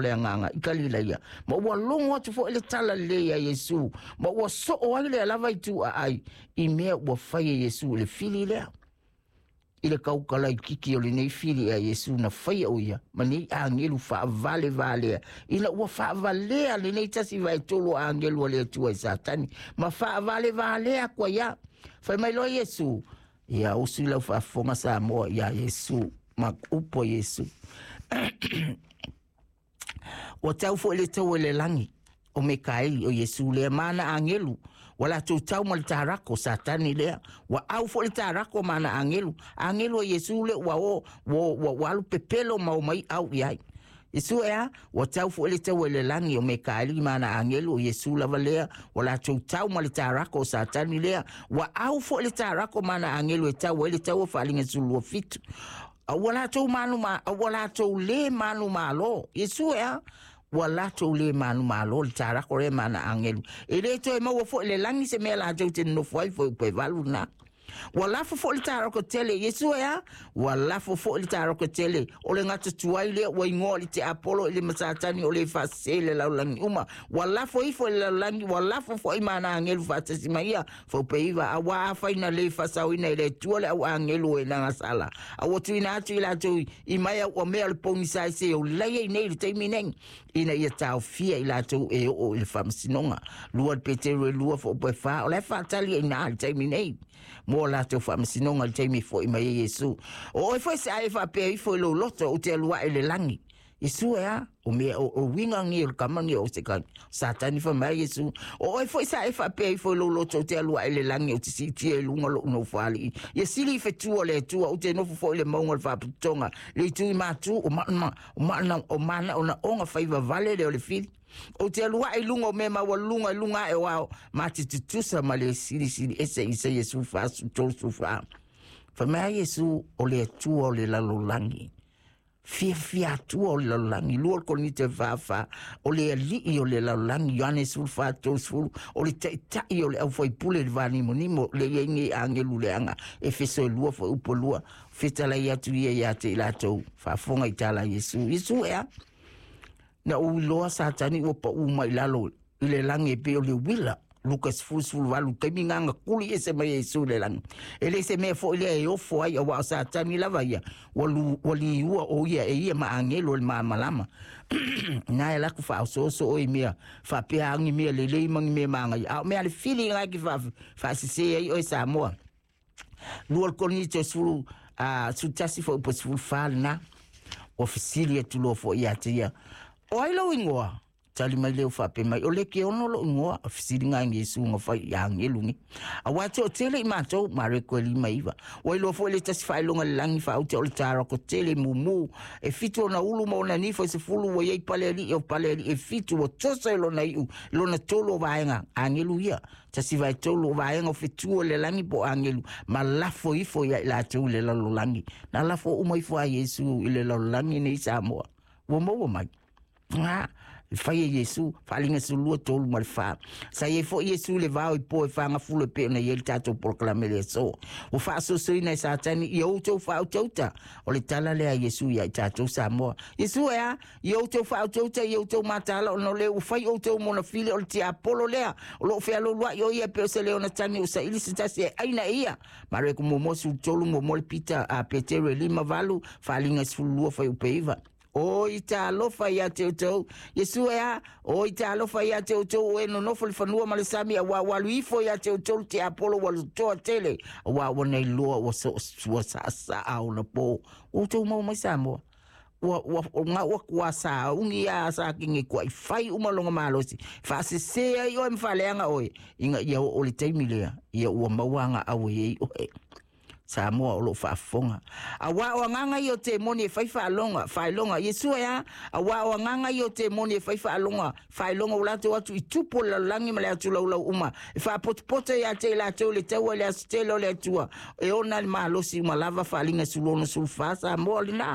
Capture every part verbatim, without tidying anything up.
Le agaga i Kalilaia, ma ua logo atu foʻi le tala lelei a Iesu, ma ua soo ai lea lava i tuaai i mea ua fai e Iesu i le fili lea. I le kaukalaikiki o lenei fili a Iesu na faia o ia ma nei agelu faavalevalea, ina ua faavalea lenei tasi vaetolu o agelu a le Atua i Satani ma faavalevalea aku ai a. Fai mai loa Iesu, ia usu i lau faafofoga Samoa iā Iesu ma upu a Iesu. Ua tau foʻi le taua i le lagi o Mekaeli o Iesu lea ma ana agelu, ua latou tau ma le tarako Satani lea, ua au foʻi le tarako ma ana agelu, agelu a Iesu lea ua o ua, ua, ua alu pepelo ma o mai au i ai. Iesu e a, ua tau foʻi le taua i le lagi o Mekaeli ma ana agelu o Iesu lava lea, ua latou tau ma le tarako o Satani lea, ua au foʻi le tarako ma ana agelu e tau ai le taua faaliga sulua fitu. A ua latou manu ma, a ua latou le manu malo. Iesu e a, ua latou le manu malo le tarako lea ma ana agelu. E le toe maua foʻi le lagi se mea latou te nonofo ai foi upe valu na. Ua lafo foʻi le tarako tele, Iesu e a, ua lafo foʻi le tarako tele, o le gatatuai lea ua igoa i le tiapolo i le Masatani o le faasese le lalolagi uma. Ua lafo ifo i le lalolagi, ua lafo foʻi ma ana agelu faatasi ma ia, faupeiva, auā afai na lē faasaoina e le Atua le au agelu o e nagasala. A ua tuuina atu i latou i mai au mea o le pogisa ai se o lai ai nei i le taimi nei, ina ia taofia i latou e oo i le faamasinoga. Lua le Peteru e lua faaopoe fa, o la e faatali ai ina le taimi nei mo latou faamasinoga i le taimi e foʻi mai ai Iesu. O oe foi se ai e faapea ifo i lou loto ou te alu ae i le lagi. Iesu e a, o mea o, o uiga gi o le kama gi o se kai. Satani fai mai Iesu, o oe foi sa e faapea ifo i lou loto ou te alu ae i le lagi ou te siitia i luga loʻu nofoalii. Ia sili i fetua o le Atua ou te nofo foʻi le mauga o le faapotopotoga. Le itu i matu o mana, o mana, o mana ona oga faivavale lea o le fili. Ou te alu ae i luga o mea maualuluga i luga ae o ao, ma te tutusa ma le silisili ese Isaia sefulufa tolu fa. Fai mai ai Iesu o le Atua o le lalolagi. Fiafia atua o le lalolagi, lua le Korinite fa fa, o le alii o le lalolagi, Ioane sefulufa tolu, o le taʻitaʻi o le aufaipule i le vanimonimo, le iai nei agelu leaga, Efeso e lua foi upu lua, fetalai atu ia iā te i latou, faafofoga i tala a Iesu. Iesu e a, na ou iloa Satani ua paʻū mai lalo i le lagi e pei o le uila. Luka sefulu sefulu valu, taimi gaga kuli ese mai e Iesu i le lagi. E le se mea foʻi lea e ofo ai, auā o Satani lava ia, ua, lu, ua liua o ia e ia ma agelu o le malamalama. Na e laku faaosooso oe i mea faapea agi mea lelei ma ni mea magaia. A o mea a le fili lena e te faasese ai oe Samoa. Lua le Korinite sefulu, a, sefulu tasi foi po sefulu fa lena. Ua fesili atu loa foʻi iā te ia. O ai lou igoa? Tali mai leo faapea mai, o le ke ono lou igoa, a fesiliga ai Iesu na fai i agelu nei. Auā toatele i matou, Mareko e lima iva. Ua iloa foʻi le tasi faailoga i le lagi faaute o le tarako tele mumu. E fitu ona ulu ma ona nifo e sefulu ua iai pale alii o pale alii e fitu ua toso i lona iʻu, i lona tolu o vaega, agelu ia. Tasi vaetolu o vaega o fetu o le lagi po o agelu, ma lafo ifo ia i latou i le lalolagi. Na lafo uma ifo a Iesu i le lalolagi nei Samoa. Ua maua mai. A, e fai e Iesu, faaliga sefululua tolu ma le fa. Sa iai foʻi Iesu i le vao i po e fagafulo e pei ona iai le tatou polokalame le aso. Ua faasoasoaina e Satani ia outou faautauta. O le tala lea a Iesu iā i tatou Samoa. Iesu e a, ia outou faautauta ia outou mataala ona o lea ua fai outou mona fili o le tiapolo lea. O loo fealualuaʻi o ia e pei o se leona tagi o saili se tasi e ʻaina e ia. Mareko muamua sefulu tolu muamua le Pita a Peteru e lima valu, faaliga sefululua fuaiupu e iva. Oi talofa iā te outou. Iesu e a, oi talofa iā te outou o e nonofo i le fanua ma le sami, auā ua alu ifo iā te outou le tiapolo ua lotoa tele, auā ua nei loa ua so, ua saasaa ona po. Ua outou maua mai Samoa. Ua, ua, ua gau aku a saaugi a sa kenge kua i fai uma longa malosi. Faasesē ai oe ma faaleaga oe, ina ia oo le taimi lea, ia ua maua aga au e iai oe. Samoa o loo faafofoga. Auā o agaga ia o temoni e fai faaloga, faailoga. Iesu e a, auā o agaga ia o temoni e fai faaloga, faailoga ua latou atu i tupu o le lalolagi ma le atu laulau uma, e faapotopoto iā te i latou i le taua i le aso tele o le Atua, e ona le malosi uma lava faaliga sefulu ono sefulu fa Samoa o lenā.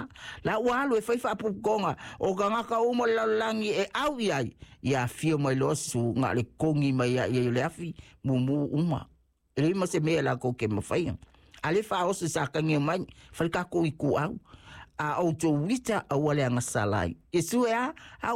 La ua alu e fai faapuputoga, o tagata uma o le lalolagi e au i ai, ia afio mai loa susuga le kogi mai ai o le afi, mumu uma. E leai ma se mea lakou ke mafaia. A le faaoso sa kagi mai, fai le takou ituau. A outou ita aua le agasala ai. Iesu e a, a